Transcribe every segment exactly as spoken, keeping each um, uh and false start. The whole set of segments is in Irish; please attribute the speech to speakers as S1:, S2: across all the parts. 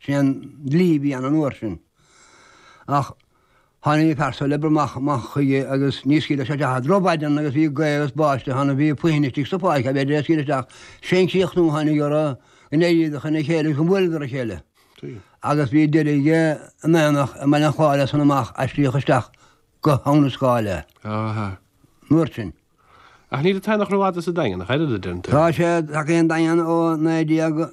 S1: Sin an dlí a bhí ann an uair sin. Ach tháinig an fear so le obair amach amach chuige agus ní scaoilfeadh sé isteach drochmhaidin agus bhí gaoth agus báisteach ann bhí puinn istigh sa pháirc a b'fhéidir é a scaoileadh isteach. Sé'n críochnú a tháinig orthu go n-éiríodar chun a chéile agus go mbuaileadar a chéile. Agus bhí deireadh aige in aonach i mBaile an Chláir as san amach aistríodh isteach go hAbha na Scáile.
S2: Aha.
S1: An uair sin.
S2: Ach níl an t-aonach rófhada sa Daingean, ach oiread, a deireann tú.
S1: Tá sé tagtha an Daingean ó naoi déag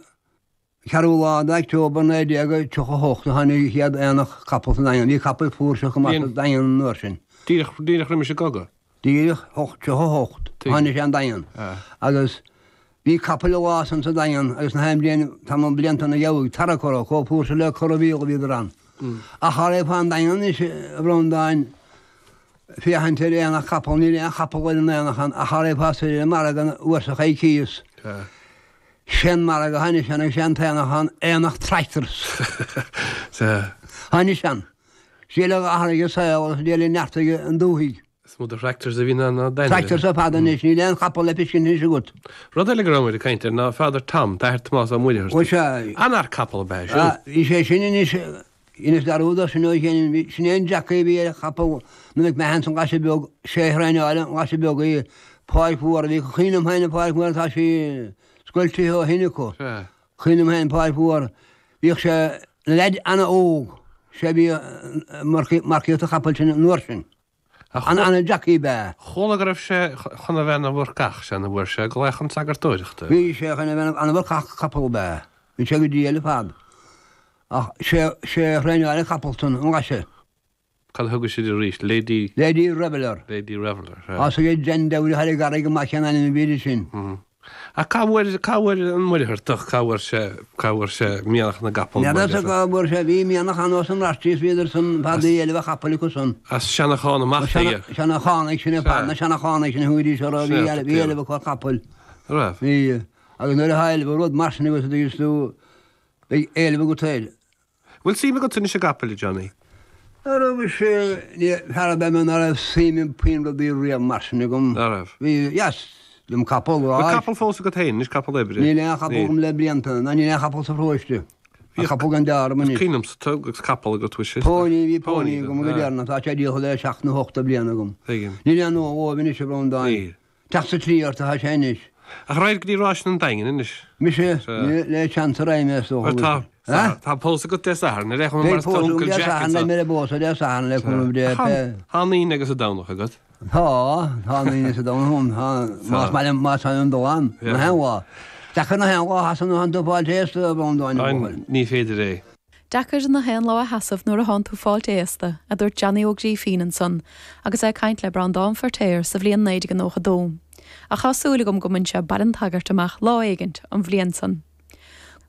S1: ceathrú lá d'October naoi déag tríocha a hocht a tháinig an chéad aonach capall sa Daingean. Bhí capaill flúirseach go maith sa Daingean an uair sin.
S2: Díreach, díreach roimis an gcogadh?
S1: Díreach, hocht tríocha a hocht a tháinig sé an Daingean. Agus bhí capaill an lá san sa Daingean agus na haon bhliain, tamall blianta ina dhiaidh, tarrac orthu, chomh flúirseach le corramhíol a bhíodar ann. Ach cha raghfá an Daingean anois, a Bhreandáin, féachaint ar aonach capall, níl aon chapall ar an aonach ann ach cha raghfá soir ar an margadh an uair seo coicíos. Sé'n margadh a tháinig ann agus sé'n t-aonach ann, aonach tractors.
S2: Sea.
S1: Tháinig ann. Sé le athraigh an saol agus le neartaigh an dúthaigh.
S2: Is mó de thractors a bhíonn ann ná d'ainmhithe.
S1: Tractors ar fad anois, níl aon chapall le feiscint anois agat.
S2: Rud eile go raibh muid ag caint air ná Father Tom, t-athair Tomás Ó Muircheartaigh.
S1: Ó sea.
S2: An-fhear capall ab ea é siúd.
S1: Bhí sé sin anois, dheineas dearúd dó sin ó shin, sin é an jockey a bhí ar chapall na McMahons an Ghlaise Bheag, sé a thraenáil an Ghlaise Bheag í, Páirc Mhór a bhí, cuimhin liom féin an Pháirc Mhór, tá sí scoiltithe ó shin acu. Cuimhin liom féin Páirc Mhór, bhíodh sé ina leaid an-óg, sé a bhí ag marcaíocht an chapaill sin an uair sin. An-jockey ab ea.
S2: Chuala go raibh sé chun a bheith ina mhurcach, sea, nuair a fuair sé glaoch chun sagartóireachta.
S1: Bhí sé chun a bheith an-mhurcach capall ab ea. Bhí sé go diail ar fad. Ach sé sé a thraenáil an capall san, an Ghlaise.
S2: Cad a thugadh siad arís? Lady.
S1: Lady Reveller.
S2: Lady Reveller, sea.
S1: Tá a fhios ag Jen Dowry thar an gCarraig amach cén ainm a bhí uirthi sin.
S2: Ach cá bhfuair, cá bhfuair an Muircheartach, cá bhfuair sé, cá bhfuair sé mianach na gcapall?
S1: N'fheadar cá bhfuair sé, bhí mianach ann ós an Raiftearaí, bhíodar san fad bhí éileamh ar chapaill acu san.
S2: As Seanachán amach aige.
S1: Seanachánaigh sin ar fad, na Seanachánaigh sin a thugaidís orthu, bhí bhí éileamh acu ar chapaill.
S2: Raibh.
S1: Bhí. Agus nuair atá éileamh ar rud mar sin agat, a dtuigeann tú, beidh éileamh agat air.
S2: Bhfuil suim agat anois i gcapaill, a Johnny?
S1: Ná raibh mise, ní, fear ab ea mé ná raibh suim i bpuinn rudaí riamh mar sin agam.
S2: Ná raibh?
S1: Bhí, dheas liom capall,
S2: Bhfuil capall fós agat féin anois, capall oibre?
S1: Níl aon chapall agam le blianta, ná níl aon chapall sa pharóiste. Tá capall gan deár agam anois.
S2: Is cuimhin liomsa tú agus capall agat, bhí sé.
S1: Póiní, bhí póiní agam go deireanach, tá sé díolta le seacht nó ocht de bhliain agam.
S2: Tuigim.
S1: Níl aon gnó dhóibh anois, a Bhreandáin.
S2: Níl.
S1: Teacht sa tslí ort atá sé anois.
S2: Ach raghair go dtí Ráiseanna an Daingin anois.
S1: Mise? Le seans a raghaidh mé is dócha.
S2: Bhuel tá, tá pósadh agat Dé Sathairn, ar aon chuma mar
S1: Beidh pósadh agam Dé Sathairn, beidh mé ar an bpósadh Dé Sathairn le cúnamh Dé.
S2: Tá an Aoine agus an Domhnach agat.
S1: Tá, tá an Aoine is an Domhnach agam, tá, más maith liom, más maith liom dul ann, na haon lá. Deacair na haon lá a sheasamh nuair atánn tú ag fáilt aosta, a Bhreandáin, a bhuachaill.
S2: Ní féidir é.
S3: Deacair na haon lá a sheasamh nuair atánn tú fáilt aosta, a dúirt Johnny Ó Grífín ansan agus é ag caint le Breandán Feirtéar sa bhliain naoi déag nócha dó. Ach tá súil agam go mbain sé Baile an tSagairt amach lá éigint an bhliain san.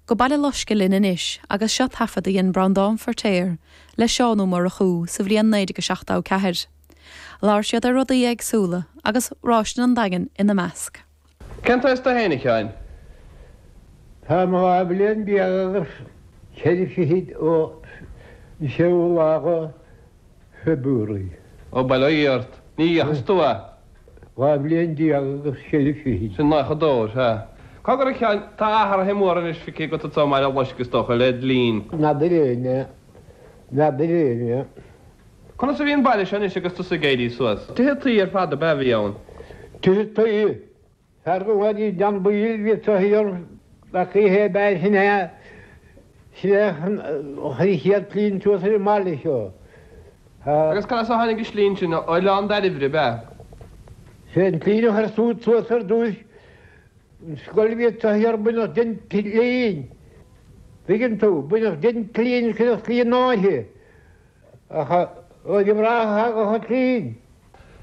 S3: Go Baile Loiscthe linn anois agus seo taifead a dhein Breandán Feirtéar le Seán Ó Murchú sa bhliain naoi déag a seachtó ceathair. Labhair siad ar rudaí éagsúla agus Ráiseanna an Daingin ina measc.
S2: Cén t-aois tú fhéin, a Sheáin?
S4: Táim dhá bhliain déag agus ceithre fichid ó an séú lá de February.
S2: Ó, bail ó Dhia ort. Ní dheachas tú é.
S4: Dhá bhliain déag agus ceithre fichid.
S2: Sin nócha dó, sea. Cogar a Sheáin, tá athruithe móra anois feicthe agat anso i mBaile Loiscthe is dócha, led linn.
S4: N'fheadar éinne, n'fheadar éinne.
S2: Conas a bhí an baile seo anois agus tusa ag éirí suas? Tithe tuí ar fad ab ea a bhí ann?
S4: Tithe tuí. Fear go bhfuil John Boyle bhí sa thiar ach ní hé b'fhearr sin é sin é an chéad tslinn suas ar an mbaile seo.
S2: Agus cad as a tháinig an tslinn sin? Ó Oileán Dairbhre, ab ea?
S4: Sé an tslinn a chuir siúd suas ar dtús, an scoil a bhí sa thiar baineadh den tslinn, tuigeann tú, baineadh den tslinn cuireadh slinn uirthi. Ach bhí mná thagadh an tslinn.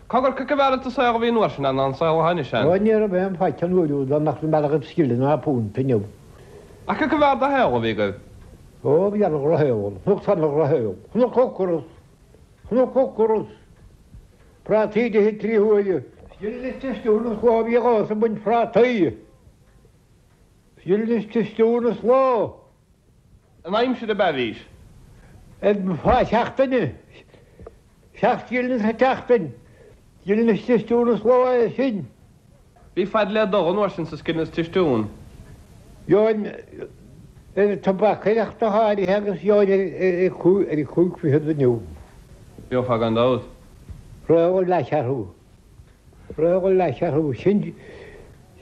S2: Cogar, cé chomh b'fhearr an saol a bhí an uair sin ann ná an saol atá anois ann?
S4: Ó, ní raibh aon faic an uair úd ann nach mbeadh agat scilling ná punt inniu.
S2: Ach cé chomh b'fhearr do shaol a bhí agaibh?
S4: Ó, bhí an-dhrochshaol, chonac an-dhrochshaol. Chonac ocras, chonac ocras, prátaí d'ithe trí huaire. Scilling is tisiún an lá a bhí agamsa ag baint prátaí. Scilling is tisiún an lá.
S2: An aimsir ab ea bhís?
S4: Ar phá seachtaine, seacht scilling sa tseachtain, scilling is tisiún an lá é sin.
S2: Bhí fad le dul an uair sin sa scilling is tisiún.
S4: Gheobhainn Ar tobaiceoireacht go háirithe agus gheobhainn ar cúig fichead inniu.
S2: Gheofá gan dabht.
S4: Rogha leathcheathrú. Rogha leathcheathrú. Sin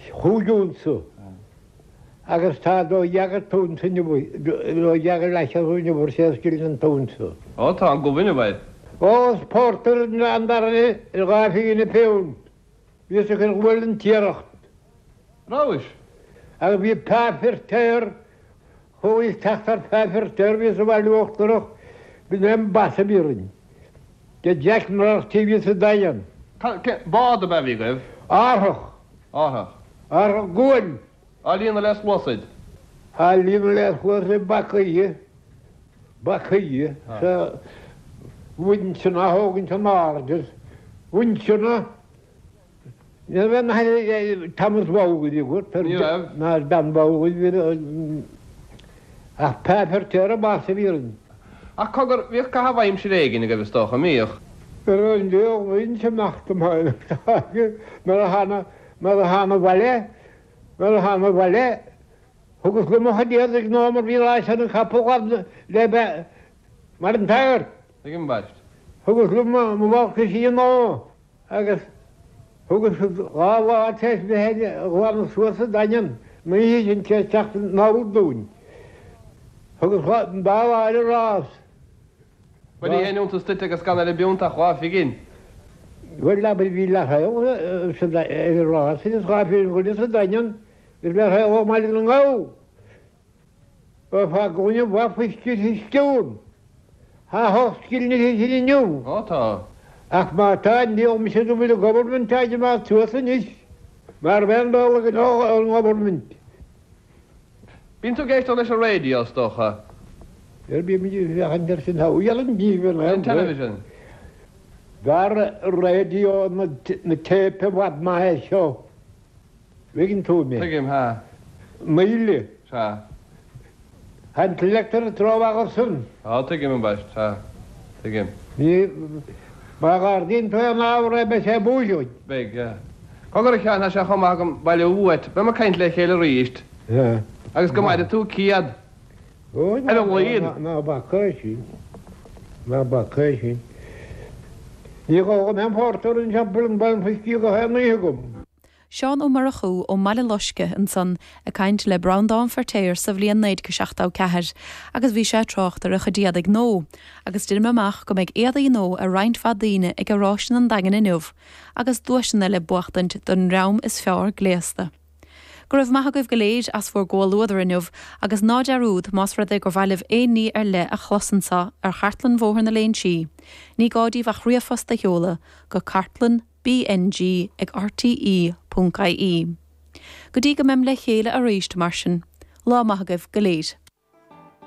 S4: chúig unsa. Agus tá dó dhéag an t-unsa inniu, dó dhéag leathcheathrú inniu ar sé scilling an t-unsa.
S2: Ó tá an gomh inniu air.
S4: Ó is pórtar an dara ar dhá phingin an púnt. Bhíos ag cur gual an tiaracht.
S2: Rabhais?
S4: Agus bhí páipéar chuaigh teacht ar pháipéar bhí sa bhaile uachtarach, b'in é an bas a bhí orainn. De Jack Murphy bhí sa Daingean.
S2: Bád ab ea a bhí agaibh?
S4: Árthach.
S2: Árthach.
S4: Árthach guail.
S2: Á líonadh le sluasaid?
S4: Á líonadh le sluasaid bacaí. Bacaí. Sa winseanna a thógaint in airde. Winseanna. Ní raibh na Thomas Bowley agat.
S2: Ní raibh.
S4: Ná Dan Bowley. Ach páipéar an bas a bhí orainn.
S2: Ach cogar, bhíodh caitheamh aimsire éigin agaibh is dócha, an mbíodh?
S4: Ar an bhíodh amach go maith mar a thána mar a thána abhaile, mar a thána abhaile, thugas liom mo chuid éadaigh ná mar bhí lá an capall agam le bheith mar an t-sagart.
S2: Tuigim, ambaist.
S4: Thugas liom mo bhalcaisí ná agus thugas dhá lá tar éis bheith a ghlanadh suas sa Daingean, an oíche sin tar éis teacht anall dúinn. Thugas an dá lá ar an rás.
S2: Bhuel ní haon iontas duit agus gan ar an bpunt ach dhá phingin.
S4: Bhuel abair bhí leathshaol ar an rás agus dhá phingin chuile sa Daingean bhí leathshaol ó mBaile na nGall. Ba fá gcúinne mhaith fuisce sciúin. Tá hocht scilling uirthi sin inniu.
S2: Ó tá.
S4: Ach má tá, níl mise go bhfuil an government ag imeacht suas anois mar bhean dul ag an government.
S2: Bíonn tú ag éisteacht leis an raidió, is dócha?
S4: Ar bíonn muid ag féachaint air sin, tá an díbhinn
S2: Ar an television.
S4: B'fhearr raidió na téip i bhfad maith é seo. Tuigeann tú mé.
S2: Tuigim, ha.
S4: Míle.
S2: Sea.
S4: Tá an t-leictir tráth ansan.
S2: Á, tuigim, ambaist, sea. Tuigim.
S4: Ní, má ghardaíonn tú an ábhar é beidh sé buaileadh.
S2: Beidh, yeah. Cogar a Sheáin, tá sé chomh maith agam bailiú uait. Beidh muid ag caint le chéile arís.
S4: Yeah.
S2: Agus go maire tú céad.
S4: Ó,
S2: Ar a laghad.
S4: Ná bac é sin. Ná bac é sin. Ní gá go mbeadh pórtar anseo buille bain fuiscí go haon oíche agam.
S3: Seán Ó Murchú ó mBaile Loiscthe ansan ag caint le Breandán Feirtéar sa bhliain naoi déag seachtó ceathair agus bhí sé ag trácht ar a chuid éadaigh nua agus deinim amach go mbeidh éadaí nua ar roinnt mhaith daoine ag Oráiste an Daingin inniu agus duaiseanna le buachtaint don dream is fearr gléasta. Go raibh maith agaibh go léir as bhur gcomhluadar inniu agus ná dearúd más rud é gur mhaith libh aon ní ar leith a chlos anseo ar Chartlann Bhóthar na Léinsí, ní gá daoibh ach ríomhphost a sheoladh go cartlann BNG ag rte ponc ie. Go dtí go mbeim le chéile arís mar sin, lá maith agaibh go léir.